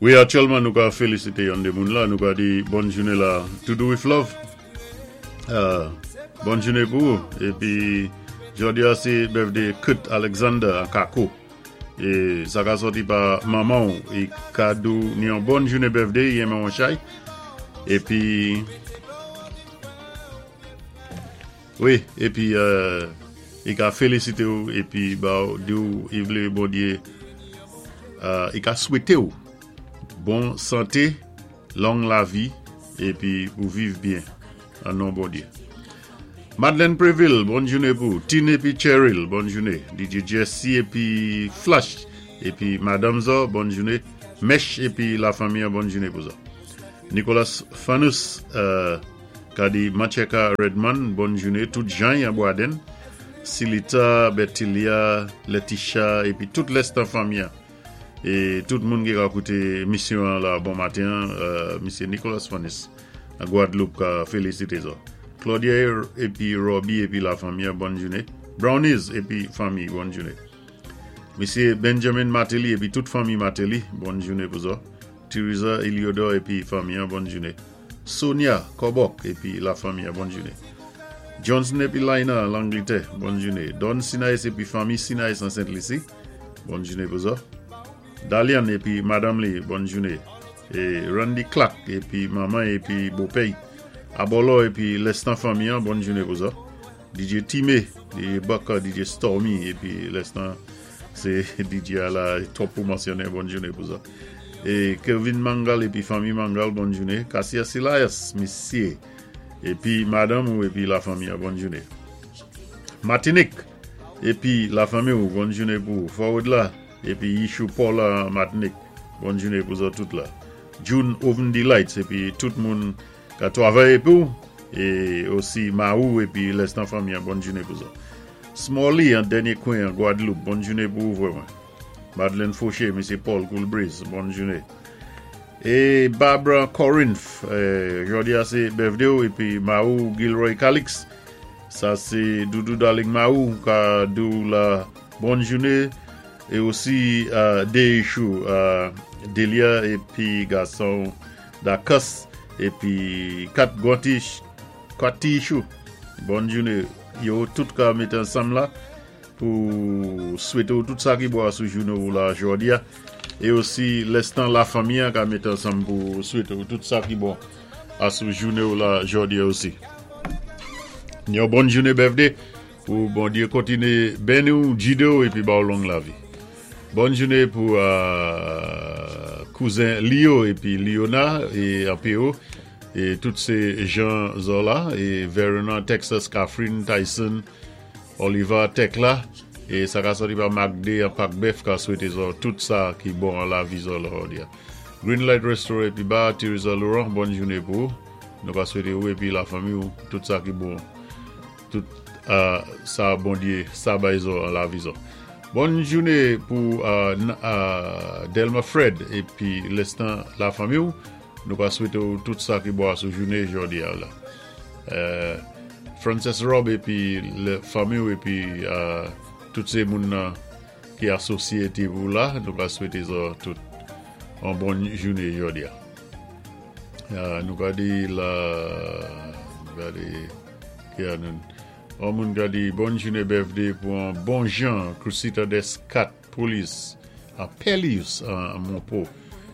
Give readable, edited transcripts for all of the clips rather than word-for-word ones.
Wi, aktyèlman nou ka félisité yon dé moun la, nou ka di bòn jounen la, To Do With Love. Bòn jounen pou ou. Épi jòdi a sé birthday Kurt Alexander an Kako. É sa ka sòti pa manman ou i ka di ou ni yon bòn jounen birthday, i renmen ou chay. Épi wi, épi i ka félisité ou épi ba ou di ou i vlé Bondyé i ka swété ou bon santé, long lavi épi pou viv byen an non Bondyé. Madeleine Préville, bòn jounen pou ou. Tine épi Cheryl, bòn jounen. DJ Jesse épi Flash épi madanm zò, bòn jounen. Mèch épi la fanmi an, bòn jounen pou zò. Nicolas Fanus ka di Mancheka Redman, bòn jounen. Tout Jany an Bwaden, Silita, Bertilia, Letitia épi tout lèstan fanmi an. É tout moun ki ka kouté émisyon an la bon maten an, Misye Nicolas Fanus an Guadeloupe ka félisité zò. Claudia épi Robbie épi la fanmi an, bòn jounen. Brownies épi fanmi, bòn jounen. Misye Benjamin Martelly épi tout fanmi Martelly, bòn jounen pou zò. Teresa Eliodor épi fanmi an, bòn jounen. Sonia Kòbòk épi la fanmi an, bòn jounen. Johnson épi Laina an Langlitè, bòn jounen. Don Sinaïs épi fanmi Sinaïs an Sent Lisi, bòn jounen pou zò. Dalian épi madanm li, bòn jounen. E Randy Clark épi manman épi bopè i. Abòlò épi lèstan fanmi an, bòn jounen pou zò. DJ Time, DJ Bucker, DJ Stormy épi lèstan sé DJ a la twòp pou mansyonnen, bòn jounen pou zò. E Kervin Mangal épi fanmi Mangal, bòn jounen. Cassius Elias, misyé épi madanm ou épi la fanmi an, bòn jounen. Matinik épi la fanmi ou, bòn jounen pou ou. Forward la épi Yishou Paul an Matinik, bòn jounen pou zò tout la. June Oven Delights épi tout moun ka twavay épi ou é osi Mahou épi lèstan fanmi an, bòn jounen pou zò. Smalley an dènyé kwen an Guadeloupe, bòn jounen pou ou vrè mwen. Madeleine Fauché, Misye Paul Cool Breeze, bòn jounen. É Barbara Corinth, jòdi a sé birthday ou épi Mahou Gilroy Calix, sa sé Doudou Darling Mahou ka di ou la bòn jounen é osi Deychou Delia épi gason ou Dacus épi 4 gwan ti 4 ti chou bòn jounen yo tout ka mété ansanm la pou swété ou tout sa ki bon asou jounen ou la jòdi a é osi lèstan la fanmi an ka mété ansanm pou swété ou tout sa ki bon asou jounen ou la jòdi a osi. Yon bòn jounen birthday pou Bondyé kontiné beni ou, gidé ou épi ba ou long lavi. Bòn jounen pou kouzen Leo épi Liona é anpé ou é tout sé Jean Zola é Verona Texas Catherine Tyson Oliva Tecla e sa ka sòti pa Magde an Pak Bèf ka swete zò tout sa ki bon an lavi zò lòdi a. Green Light Restaurant epi Bar Teresa Laurent bòn joune pou ou nou ka swete ou epi la fanmi ou tout sa ki bon tout sa Bondye sa bay zò an lavi zò. Bòn joune pou Delma Fred epi lestan la fanmi ou nou ka swete ou tout sa ki bon asou joune jòdi a la. Frances Rob epi fanmi ou epi tout se moun nan ki asosye te pou la nou ka swete zò tout an bon joune jodi a. Nou ka di la gade ki a nou an moun ka di bon joune birthday pou an bon jan Crucita des 4 Police a Pelius an Monpo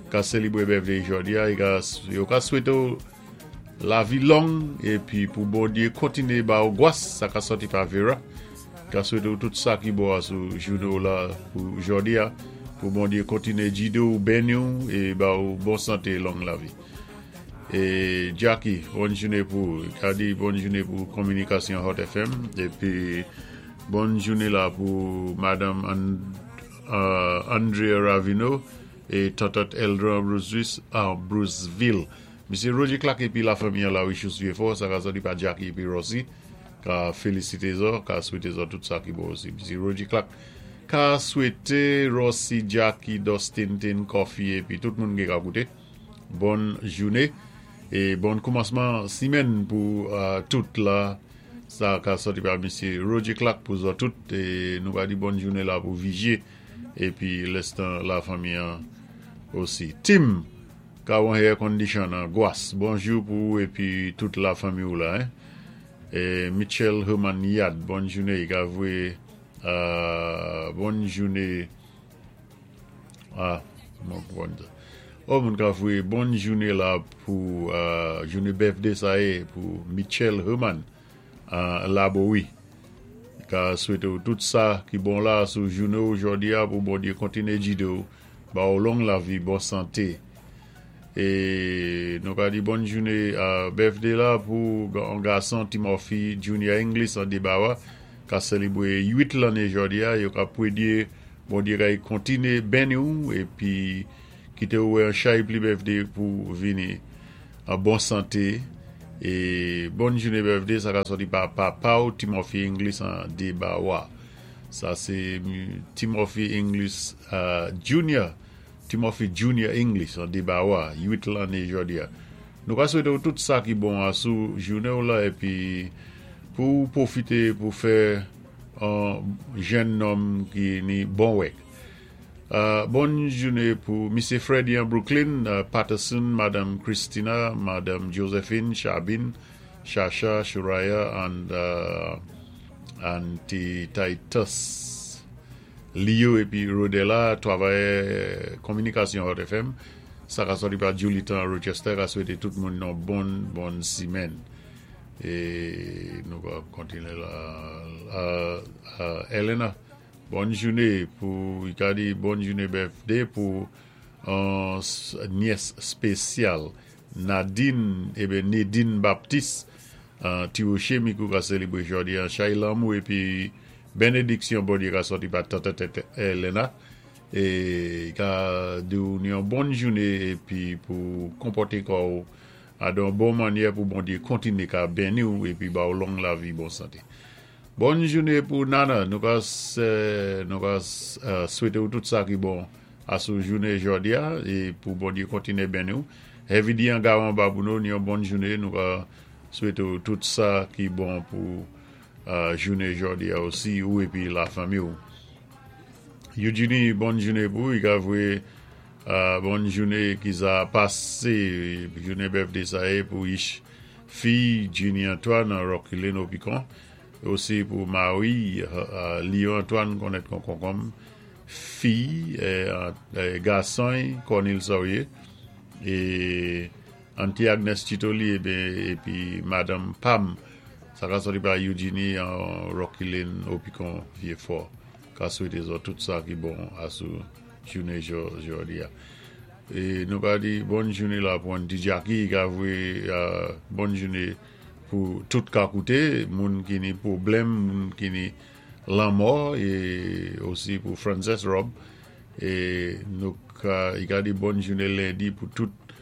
ka selebre birthday jodi a yo ka swete ou Lavi long epi pou Bondye kontinye ba ou gwas sa ka sòti pa Vera ka swete ou tout sa ki bon a sou jounen ou la pou jodi a pou Bondye kontinye gide ou beni ou e ba ou bon sante long lavi e Jacky bòn jounen pou ou ka di bòn jounen pou kominikasyon Hot FM epi bòn jounen la pou madanm Andrea Ravino e tòtòt Eldran Bruceville. Misye Roger Clark epi la fanmi an la Richus Vieux-Fort, sa ka sòti pa Jacky epi Rossy, ka felisite zò, ka swete zò tout sa ki bon osi. Misye Roger Clark ka swete Rossy, Jacky, Dustin, Tin, Coffee epi tout moun ki ka koute bòn joune e bòn koumansman simèn pou tout la. Sa ka sòti pa misye Roger Clark pou zò tout e nou ka di bòn joune la pou Vigie epi lèstan la fanmi an. Osi. Tim, ka wan air condition an Gwas, bonjou pou ou épi tout la fanmi ou la, hein. É Mitchell Herman Yad, bòn jouné, i ka voyé bòn jouné, ah, mwen konpwann sa. Oh, moun ka voyé bòn jouné la pou jouné birthday sa yé pou Mitchell Herman Labowi. Ka swété ou tout sa ki bon la sou jouné ou jòdi a pou Bondyé kontiné jidé ou, ba ou long lavi, bon santé. É nou ka di bòn jouné birthday la pou on gason Timothy Junior English an Debawa ka sélébwé 8 lanné jòdi a. Yo ka pwédyé Bondyé kay kontiné benni ou épi kité ou wè an chay pli birthday pou vini an bon santé. É bòn jouné birthday sa ka sòti pa papa ou Timothy English an Debawa. Sa sé Timothy English Junior, Timothy Junior English an Debawa, 8 lanné jòdi a. Nou ka swété ou tout sa ki bon a sou jouné ou la épi pou ou pwofité pou fè an jèn nonm ki ni bon wèk. Bòn jouné pou Misyé Freddy an Brooklyn, Patterson, Madam Christina, Madam Josephine, Chabine, Shasha, Shuraya and Auntie Titus, Leo épi Rodela, twavayè kominikasyon Hot FM, sa ka sòti pa Julie Tan Rochester ka swété tout moun yon bon bon simèn. É nou ka kontiné la Elena. Bòn joune pou i ka di bòn joune birthday pou on nyès spesyal Nadine eben Nedine Baptiste ti roche mikou ka selebre jodi an chay lanmou epi benediksyon Bondye ka sòti pa tante Elena e i ka di w yon bòn joune epi pou konpòte kò w a don bon manyè pou Bondye kontinye ka beni w epi ba w long lavi bon sante. Bòn joune pou Nana, nou ka nou ka swete ou tout sa ki bon a sou joune jodi a e pou Bondye kontinye beni ou. Heavy D an Gawan Babouno ni yon bòn joune, nou ka swete ou tout sa ki bon pou joune jodi a osi ou epi la fanmi ou. Eugenie bòn joune pou ou, i ka voye bòn joune ki sa pase joune birthday sa ye pou Ish Fi Jenny Antoine an Rocky Lane Opicon, osi pou Marie Leo Antoine konèt kon konkonm, fi gason Cornil Saurier e Auntie Agnes Titoli epi madanm Pam sa ka sòti pa Eugenie an Rocky Lane Opicon Vieux Fort ka swete zòt tout sa ki bon asou jounen jodi a. E nou ka di bòn joune la pou Auntie Jackie ka voye bòn joune pou tout ka koute moun ki ni pwoblèm moun ki ni lanmò e osi pou Frances Rob e nou ka i ka di bòn joune lendi pou tout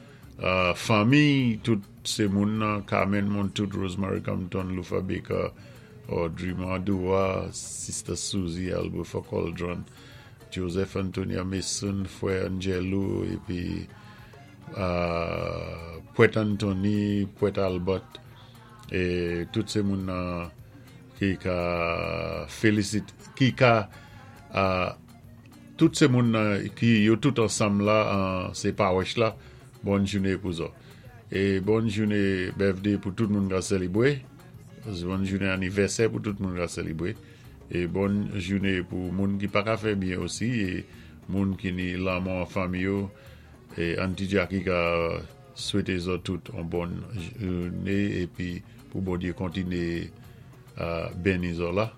fanmi tout se moun nan Carmen Montout Rosemary Compton Lufa Baker Audrey Mandoua Sister Susie Albertha Coldron Joseph Antonia Mason, Frè Angelo, épi Pwèt Anthony, Pwèt Albert, é tout sé moun nan ki ka félisité, ki ka tout sé moun nan ki yo tout ansanm la sé pawòch la, bòn jouné pou zò. É bòn jouné birthday pou tout moun ka sélébwé, bòn jouné anivèsè pou tout moun ka sélébwé. E bòn joune pou moun ki paka fè byen osi e moun ki ni lanmò an fanmi yo e Auntie Jackie ka swete zòt tout on bòn joune epi pou Bondye kontine beni zò la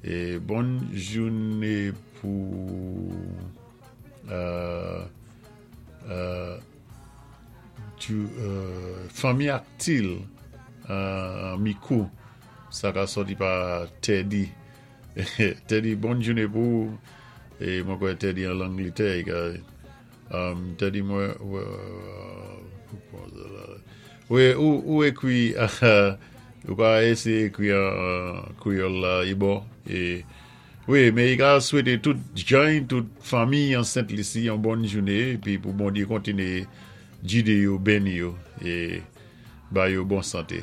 e bòn joune pou fanmi Actil Mikou. Sa ka sòti pa Teddy. Teddy bon joune pou ou. E mwen kwè Teddy an Langletè. Teddy mwen Wi ou ekri ou ka eseye ekri an kreyòl la i bon. E wi men i ka swete tout jany tout fanmi an Sent Lisi yon bon joune epi pou Bondye kontinye gide yo beni yo e ba yo bon sante.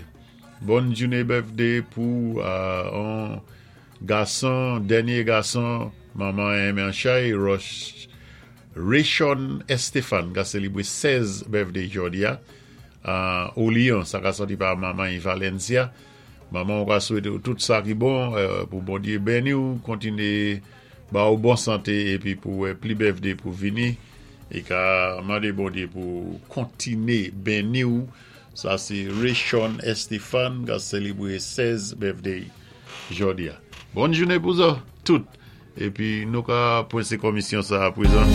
Bòn joune birthday pou on gason dènye gason manman enmen chay Roch. Rayshon Estefan ka sélébwé 16 birthday jòdi-a. Olian, sa ka sòti pa manman Valencia. Manman ou ka swété ou tout sa ki bon pou Bondyé béni ou, kontiné ba ou bon santé épi pou wè pli birthday pou vini. É ka mandé Bondyé pou kontiné béni ou. Sa sé Rayshon Estefan ka sélébwé 16 birthday jòdi-a. Bòn jounen pou zòt tout. Épi nou ka pwensé komisyon sa apwézan.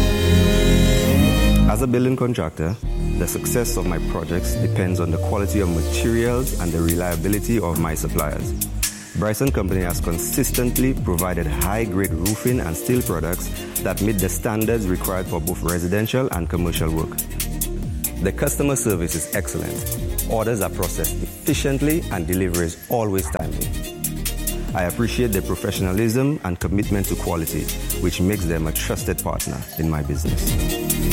As a building contractor, the success of my projects depends on the quality of materials and the reliability of my suppliers. Bryson Company has consistently provided high-grade roofing and steel products that meet the standards required for both residential and commercial work. The customer service is excellent. Orders are processed efficiently and delivery is always timely. I appreciate their professionalism and commitment to quality, which makes them a trusted partner in my business.